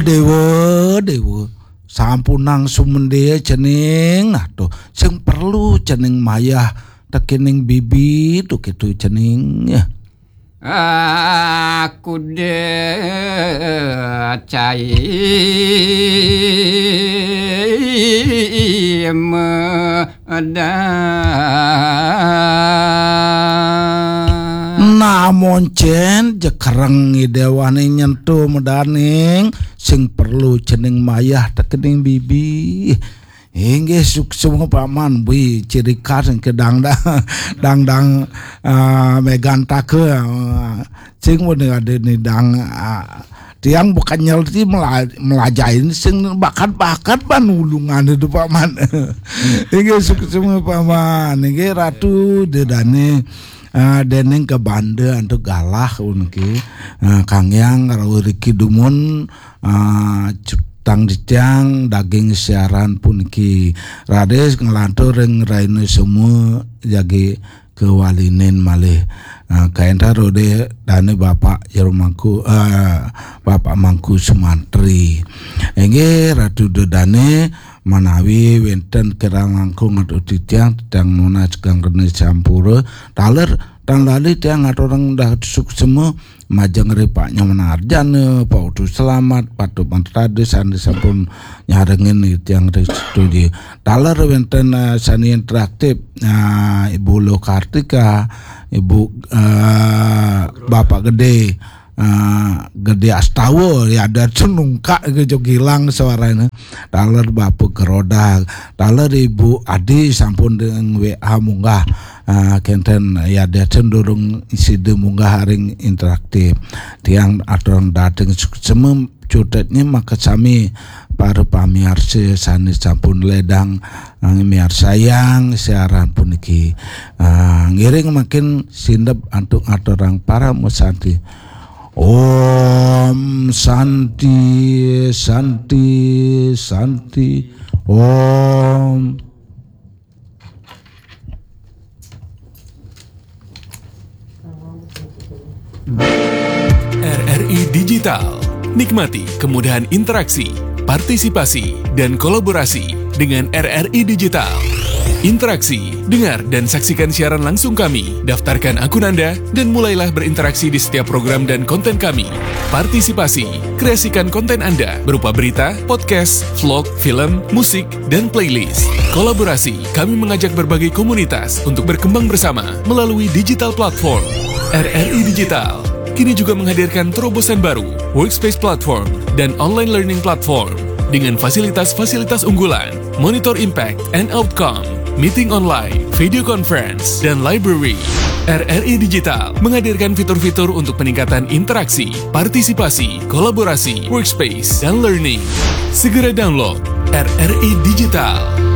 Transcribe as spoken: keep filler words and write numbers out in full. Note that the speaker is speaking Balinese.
Dewa, Dewa, sampunang sumendya cening, nah to, sing perlu cening mayah tekening bibi to, kitu cening. Aku de cai medan. Nah, moncen jekereng idewane nyentuh medaning, sing perlu cening mayah tekening bibi. Inggih, suksma Paman, bui ciri khas ke dangdang, dangdang, ah, megantaka, ah, sing wene ada ni dang, ah, tiang bukan nyelti mela-, melajain sing bakat-bakat ban ulungan itu, Paman. Inggih, suksma Paman, inggih Ratu dedane, ah, dening kebanda antuk galah unki, ah, kanggiang rau riki dumun, ah, cutang dicang daging siaran puniki. Raris nglantur ring raina semua jagi kewalinin malih. Ah, kaentar ode dane Bapak Jero Mangku, ah, Bapak Mangku Sumantri. Inggih Ratu dedane manawi wenten kirang langkung atau titiang, titiang nunas kang rene sampura. Taler tan lali tiang aturang dah suksma majeng ri Pak Nyoman Arjana, Pak Utu Selamat, Pak Tupan Tadi sane sampun nyarengin tiang ri studio. Taler wenten, eh, sane interaktif, eh, Ibu Lo Kartika, Ibu, eh, Bapak Gede, eh, Gede Astawa, ya ada cenungkak ke jogilang suaranya. Taler Bapak Gerodak, taler Ibu Adi sampun dengan W A munggah, eh, kenten ya ada cenderung sida munggah ring interaktif. Tiang aturang dateng suksma cutetnya maka sami para pamiarsa sane sampun ledang, eh, miarsayang siaran puniki. Eh, ngiring makin sindep antuk aturang parama santi. Om Santi, Santi, Santi, Om. R R I Digital. Nikmati kemudahan interaksi, partisipasi, dan kolaborasi dengan R R I Digital. Interaksi, dengar dan saksikan siaran langsung kami. Daftarkan akun Anda dan mulailah berinteraksi di setiap program dan konten kami. Partisipasi, kreasikan konten Anda berupa berita, podcast, vlog, film, musik, dan playlist. Kolaborasi, kami mengajak berbagai komunitas untuk berkembang bersama melalui digital platform. R R I Digital kini juga menghadirkan terobosan baru, Workspace Platform dan Online Learning Platform, dengan fasilitas-fasilitas unggulan, monitor impact and outcome, meeting online, video conference, dan library. R R I Digital menghadirkan fitur-fitur untuk peningkatan interaksi, partisipasi, kolaborasi, workspace, dan learning. Segera download R R I Digital.